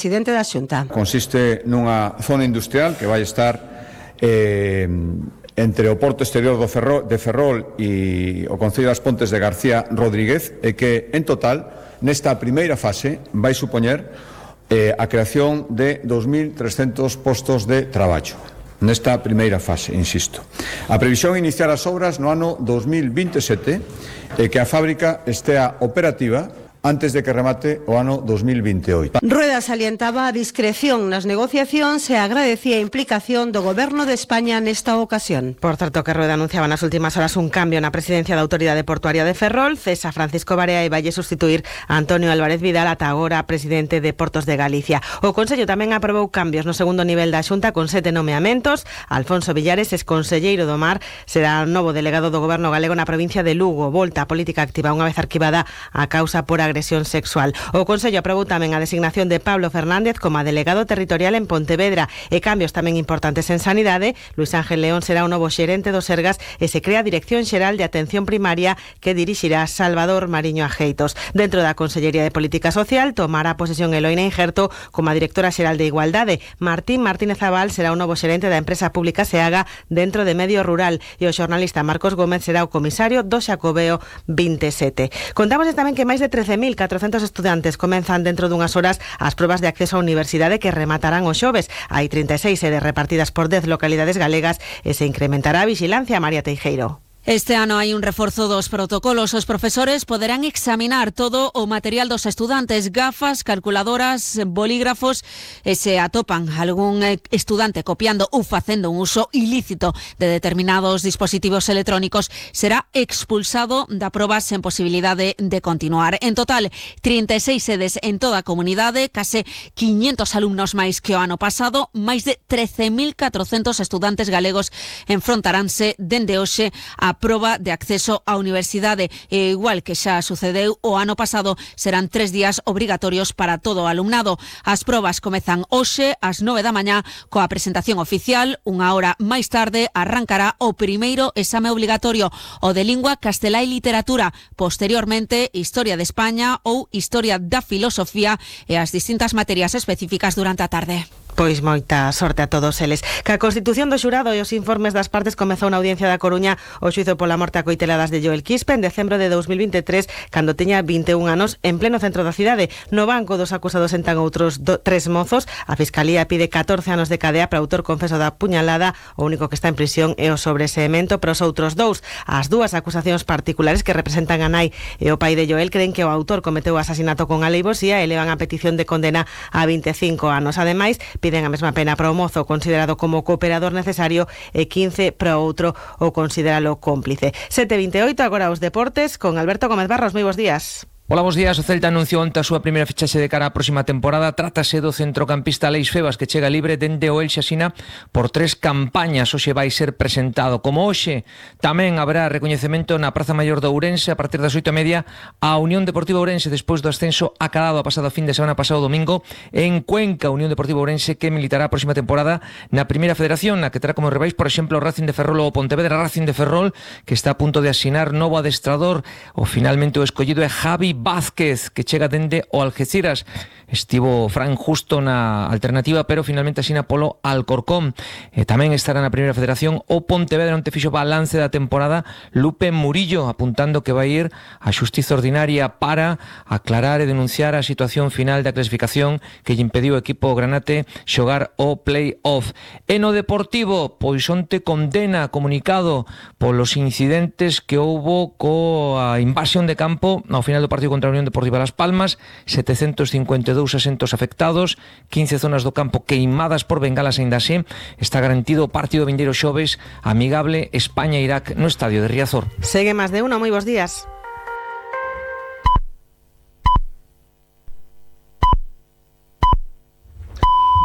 Presidente da Xunta. Consiste nunha zona industrial que vai estar entre o Porto Exterior de Ferrol e o Concello das Pontes de García Rodríguez, e que, en total, nesta primeira fase, vai supoñer a creación de 2.300 postos de traballo. Nesta primeira fase, insisto. A previsión é iniciar as obras no ano 2027 e que a fábrica estea operativa antes de que remate o ano 2028. Rueda salientaba a discreción nas negociacións e agradecía a implicación do Goberno de España nesta ocasión. Por certo, que Rueda anunciaba nas últimas horas un cambio na presidencia da Autoridade Portuaria de Ferrol. Cesa Francisco Barea e valle sustituir a Antonio Álvarez Vidal, ata agora presidente de Portos de Galicia. O Consello tamén aprobou cambios no segundo nivel da Xunta con 7 nomeamentos. Alfonso Villares, exconselleiro do Mar, será novo delegado do Goberno galego na provincia de Lugo. Volta a política activa unha vez arquivada a causa por agresión sexual. O Consello aprobou tamén a designación de Pablo Fernández como delegado territorial en Pontevedra e cambios tamén importantes en Sanidade. Luis Ángel León será o novo xerente do Sergas e se crea a Dirección Xeral de Atención Primaria que dirixirá Salvador Mariño Ajeitos. Dentro da Consellería de Política Social tomará posesión Eloína Injerto como a directora xeral de Igualdade. Martín Martínez Abal será o novo xerente da empresa pública SEAGA dentro de Medio Rural e o xornalista Marcos Gómez será o comisario do Xacobeo 27. Contamos tamén que máis de 13.400 estudantes comenzan dentro dunhas horas as probas de acceso á universidade que rematarán o xoves. Hai 36 sedes repartidas por 10 localidades galegas e se incrementará a vixilancia. María Teijeiro. Este ano hai un reforzo dos protocolos. Os profesores poderán examinar todo o material dos estudantes, gafas, calculadoras, bolígrafos, e se atopan algún estudante copiando ou facendo un uso ilícito de determinados dispositivos electrónicos, será expulsado da proba sen posibilidade de continuar. En total, 36 sedes en toda a comunidade, case 500 alumnos máis que o ano pasado, máis de 13.400 estudantes galegos enfrontaránse dende hoxe a proba de acceso á universidade. E igual que xa sucedeu o ano pasado, serán 3 días obrigatorios para todo o alumnado. As probas comezan hoxe ás 9 da mañá coa presentación oficial. Unha hora máis tarde arrancará o primeiro exame obligatorio, o de lingua castelá e literatura. Posteriormente, Historia de España ou Historia da Filosofía e as distintas materias específicas durante a tarde. Pois moita sorte a todos eles. Que a constitución do xurado e os informes das partes comezou na Audiencia da Coruña o xuízo pola morte a coiteladas de Joel Quispe en decembro de 2023, cando teña 21 anos, en pleno centro da cidade. No banco dos acusados sentan outros 3 mozos. A Fiscalía pide 14 anos de cadea para o autor confeso da puñalada. O único que está en prisión é o sobreseemento, pero os outros 2. As 2 acusacións particulares que representan a nai e o pai de Joel creen que o autor cometeu o asasinato con alevosía e levan a petición de condena a 25 anos. Ademais, piden a mesma pena para o mozo considerado como cooperador necesario e 15 para o outro o consideralo cómplice. 7:28, agora os deportes con Alberto Gómez Barros. Moi bons días. Hola, bos días. O Celta anunciou onte a súa primeira fichaxe de cara á próxima temporada. Trátase do centrocampista Aleix Febas, que chega libre dende o Elxe Asina por 3 campañas. Hoxe vai ser presentado. Como hoxe tamén haberá recoñecemento na Praza Maior de Ourense a partir das 8:30 a Unión Deportiva Ourense despois do ascenso acadado a pasado fin de semana pasado domingo en Cuenca. Unión Deportiva Ourense que militará a próxima temporada na Primeira Federación, na que terá como rivais, por exemplo, o Racing de Ferrol ou Pontevedra. Racing de Ferrol, que está a punto de asinar novo adestrador. Finalmente o escollido é Javi Vázquez, que chega dende o Algeciras. Estivo Fran Justo na alternativa, pero finalmente asina polo Alcorcón. Tamén estará na Primeira Federación o Pontevedra, onde fixo balance da temporada Lupe Murillo, apuntando que vai ir a xustiza ordinaria para aclarar e denunciar a situación final da clasificación que lle impediu o equipo granate xogar o play-off. E no Deportivo, pois onte condena comunicado polos incidentes que houbo coa invasión de campo ao final do partido contra a Unión Deportiva Las Palmas. 752 asentos afectados, 15 zonas do campo queimadas por bengalas. Aínda así, está garantido o partido vindeiro xoves amigable España-Irak no estadio de Riazor. Segue máis de uno, moi bons días.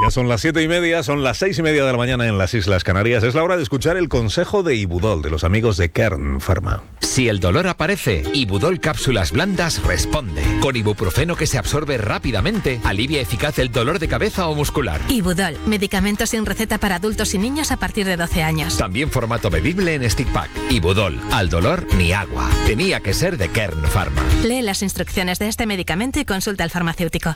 Ya son las 7:30, son las 6:30 de la mañana en las Islas Canarias. Es la hora de escuchar el consejo de Ibudol, de los amigos de Kern Pharma. Si el dolor aparece, Ibudol Cápsulas Blandas responde. Con ibuprofeno que se absorbe rápidamente, alivia eficaz el dolor de cabeza o muscular. Ibudol, medicamento sin receta para adultos y niños a partir de 12 años. También formato bebible en stick pack. Ibudol, al dolor ni agua. Tenía que ser de Kern Pharma. Lee las instrucciones de este medicamento y consulta al farmacéutico.